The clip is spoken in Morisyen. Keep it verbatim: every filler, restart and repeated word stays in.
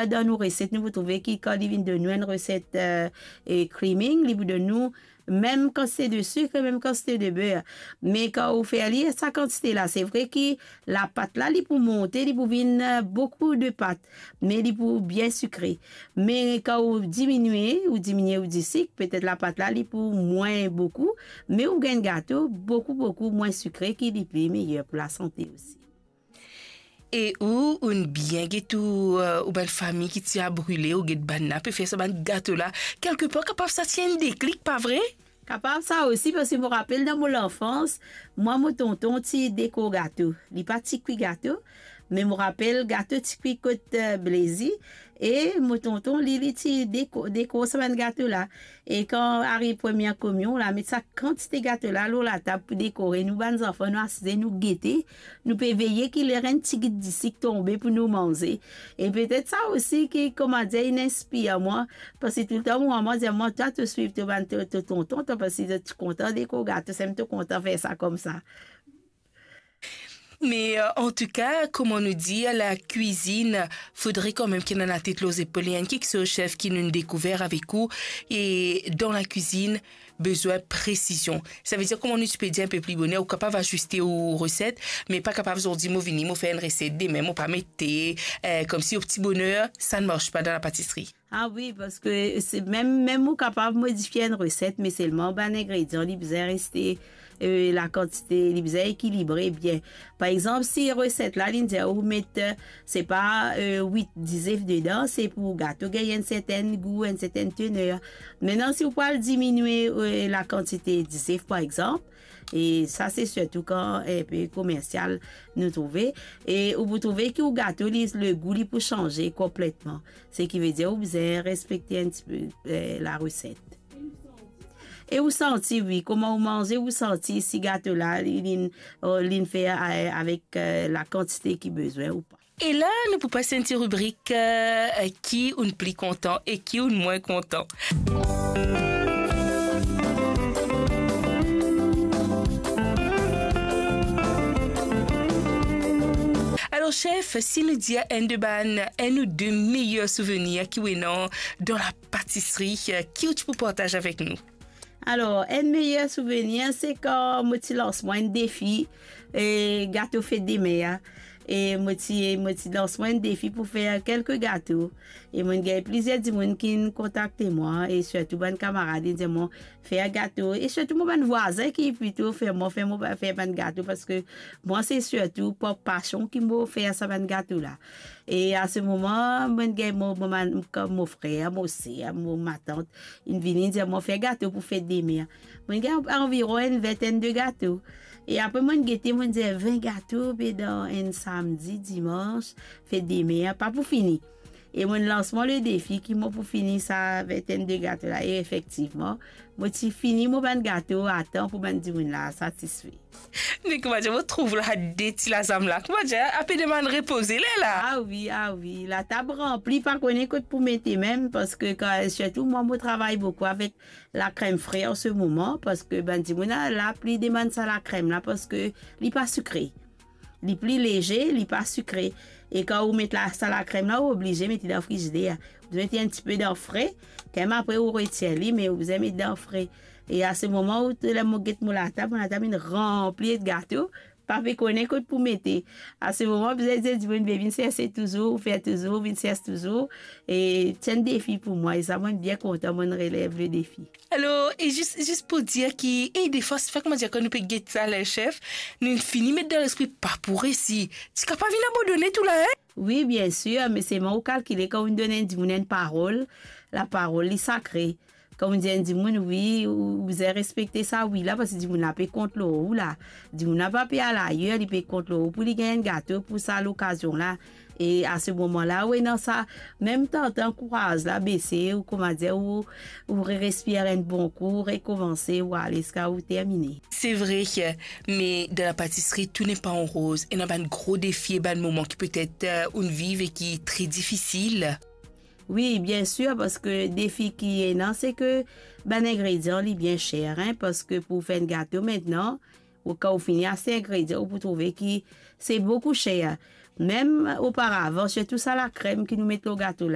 Dan nou reset, nou pou trouve ki kan li vinn donn nou enn reset, eh, eh, creaming, li pou donn nou mem kantite de sik, mem kantite de ber. Me kan ou fer li sa kantite la, se vre ki lapat la, li pou monte, li pou vinn, eh, boukou de pat, me li pou bien sikre. Me kan ou diminie, ou diminie ou disik, petet lapat la, li pou mwin boukou, me ou gagn gato boukou, boukou mwin sikre, ki li pli meyer pou lasante osi. E ou, ou'nn bien get ou, eh, ou bann fami ki ti a brile, ou get bann la pe fer sa bann gato la. Kelkepar, kapav sa ti enn deklik, pa vre? Kapav sa osi, parski mo rapel dan mo lanfans, mwa, mo tonton ti dekor gato. Li pa ti kwi gato, me mo rapel gato ti kwi kot, eh, Blezi, e mo tonton, li, li ti deko-, dekor sa bann gato la. E kan ariv premie komion la, met sa kantite gato la lor latab pou dekore. Nou bann zanfan, nou asize, nou gete, nou pe veye ki ler enn tigit disik tonbe pou nou manze. E petet sa osi ki, kouma dir, inn inspir mwa, parski toultan mo mama dir mwa, "Twa, to swiv to bann, to, to tonton, twa, parski to kontan dekor gato, seki to kontan fer sa koumsa." Me, eh, antouka, kouma nou dir, lakwizinn, fodre kanmem ki ena latet lor zepol. Li enn kiksoz, chef, ki nou'nn dekouver avek ou, e dan lakwizinn, bezwin presizion. Savedir, kouma nou ti pe dir enn pe pli boner, ou kapav aziste ou reset, me pa kapav zordi mo vini, mo fer enn reset, dime mo pa mete, eh, koumsi ou ti boner, sa ne marche pa dan lapatisri. Ah wi, parski se mem, mem ou kapav modifie enn reset, me selman bann ingredian, li bizin reste, eh, lakantite, li bizin ekilibre bien. Par exanp, si reset la, li dir ou met, eh, se pa, eh, wit, dizef dedan, se pou gato gagn enn sertenn gou, enn sertenn tener. Mintnan, si ou pou al diminie, eh, lakantite dizef, par exanp, e sa se sirtou kan enn pe komersial nou trouve, e ou pou trouve ki ou gato, li, legou li pou sanze konpletman. Seki vedir ou bizin respekte enn tipe, eh, lareset. E ou santi, wi, kouma ou manze, ou santi si gato la, li, li, oh, li fer, eh, avek, eh, lakantite ki bezwin ou pa. E la, nou pou pas enn ti ribrik, eh, ki ou'nn pli kontan e ki ou'nn mwin kontan. Alor, chef, si nou dir enn de bann, enn ou de meyer souvenir ki ou ena dan lapatisri, ki ou ti pou partaz avek nou? Alor, enn meyer souvenir, se kan mo ti lans mwa enn defi, eh, gato fet demer a. E mo ti, mo ti lans mwa enn defi pou fer kelke gato. E mo'nn gagn plizier dimoun ki'nn kontakte mwa, e sirtou bann kamarad, inn dir mwa fer gato. E sirtou mo bann vwazin ki plito fer mwa, fer mo, fer bann gato, parski mwa, se sirtou par pasion ki mo fer sa bann gato la. E a se moman, mo'nn gagn mo, mo, mo, mo frer, mo ser, mo matant, inn vini, inn dir mwa fer gato pou fet demer. Mo'nn gagn anviron enn vintenn de gato. E apre mo'nn gete, mo'nn dir, vin gato, be dan enn samdi, dimans, fet demer, pa pou fini. E mo'nn lans mwa le defi ki mo pou fini sa vintenn de gato la. E efektivman, mo ti fini mo bann gato atan pou bann dimoun la satisfe. Me koumadir mo trouv la de ti lazam la, koumadir, ape demann repoze ler la. Ah wi, ah wi, latab ranpli, pa kone kot pou mete mem, parski kan, sirtou mwa, mo travay boukou avek lakrem fre an se moman, parski bann dimoun la, la pli demann sa lakrem la, parski li pa sikre. Li pli leze, li pa sikre. E kan ou met la, sa lakrem la, ou oblize met li dan frizider. Ou bizin met enn tipe dan fre, kan mem apre ou retir li, me ou bizin met dan fre. E a se moman ou, ler mo get mo latab, mo latab inn ranpli ek gato, pa pe kone kot pou mete. A se moman, bizin dir dimoun, be vinn serse touzour, ou fer touzour, vinn serse touzour. E ti enn defi pou mwa, e sa, mo'nn bien kontan, mo'nn relev le defi. Alor, e zis, zis pou dir ki, e defwa, sa koumadir, kan nou pe get sa, le chef, nou fini met dan lespri pa pou resi. Ti kapav vinn abandone tou la, en? Wi, biensir, me selman ou kalkile kan ou donn enn dimoun enn parol, laparol li sakre. Kan ou dir enn dimoun, wi, ou, ou bizin respekte sa wi la, parski dimoun la pe kont lor ou la. Dimoun la pa pe al ayer, li pe kont lor ou pou li gagn enn gato pou sa lokazion la. E a se moman la, ou ena sa mem tantan kouraz la bese, ou koumadir, ou, ou re-, respir enn bon kou, ou rekomanse, ou ale ziska ou termine. Se vre, me dan lapatisri, tou n'est pas en rose. Ena bann gro defi e bann moman ki petet, eh, ou'nn viv e ki tre difisil. Wi, biensir, parski defi ki ena, se ki bann ingredian, li bien ser, en, parski pou fer enn gato mintnan, ou, kan ou fini aste ingredian, ou pou trouve ki se boukou ser. Mem oparavan, sirtou sa lakrem ki nou met lor gato la,